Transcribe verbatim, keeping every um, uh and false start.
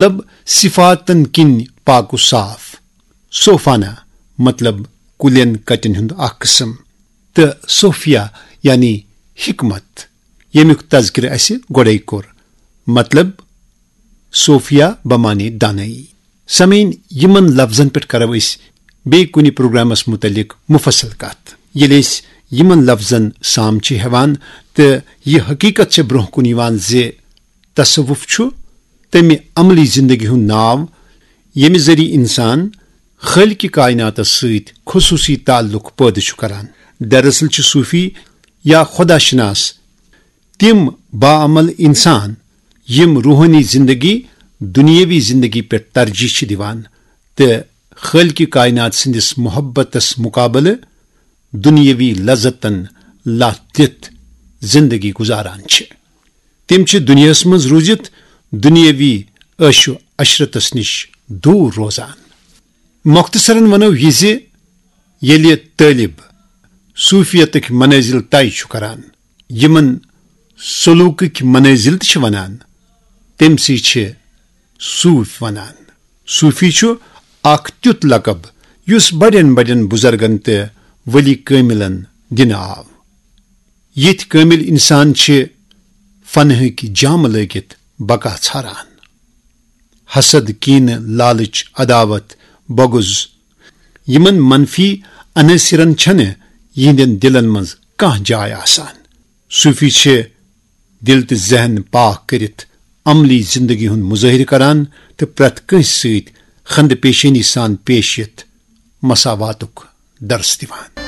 مطلب صفاتن کِنۍ پاک و صاف۔ صوفانہ مطلب کُلٮ۪ن کٹٮ۪ن ہُنٛد اکھ قٕسم، تہٕ صوفیہ یعنی حکمت، ییٚمیُک تذکرٕ اَسہِ گۄڈَے کوٚر۔ مطلب صوفیہ بمانے دانائی۔ سامعین، یِمن لفظن پٮ۪ٹھ کرو أسۍ بیٚیہِ کُنہِ پروگرامس مُتعلق مُفصل کتھ۔ ییٚلہِ أسۍ یِمن لفظن سام چھِ ہٮ۪وان، تہٕ یہِ حقیٖقت چھِ برٛونٛہہ کُن یِوان زِ تصوف چھُ تمہِ عملی زندگی ہُنٛد ناو، ییٚمہِ ذٔریعہٕ انسان خالقِ کائناتس سۭتۍ خصوصی تعلق پٲدٕ چھُ کران۔ دراصل چھِ صوفی یا خدا شناس تِم باعمل انسان، یِم روحٲنی زندگی دُنیٲوی زندگی پٮ۪ٹھ ترجیح چھِ دِوان تہٕ خالقِ کائنات سٕنٛدِس محبتس مقابلہٕ دُنیٲوی لذتن لتھ دِتھ زندگی گُزاران چھِ۔ تِم چھِ دُنیاہس منٛز روٗزِتھ دُنیٲوی عٲش و عشرتس نِش دوٗر روزان۔ مۄختصرن ونو یہِ زِ ییٚلہِ طٲلب صوفیتٕکۍ منٲزِل طے چھُ کران، یِمن سلوٗکٕکۍ منٲزِل تہِ چھِ ونان، تٔمۍ سٕے چھِ صوٗفۍ ونان۔ صوٗفی چھُ اکھ تیُتھ لقب یُس بڑٮ۪ن بڑٮ۪ن بُزرگن تہٕ ولی کٲمِلن دِنہٕ آو۔ یِتھۍ کٲمِل انسان چھِ فنہٕکۍ جامہٕ لٲگِتھ بقا ژھاران۔ حسد، کینہٕ، لالچ، عداوت، بغض، یِمن منفی عناصرن چھنہٕ یِہنٛدٮ۪ن دِلن منٛز کانٛہہ جاے آسان۔ صوفی چھِ دِل تہٕ ذہن پاک کٔرِتھ عملی زندگی ہُنٛد مظٲہرٕ کران تہٕ پرٛٮ۪تھ کٲنٛسہِ سۭتۍ خندٕ پیشٲنی سان پیش یِتھ مساواتُک درس دِوان۔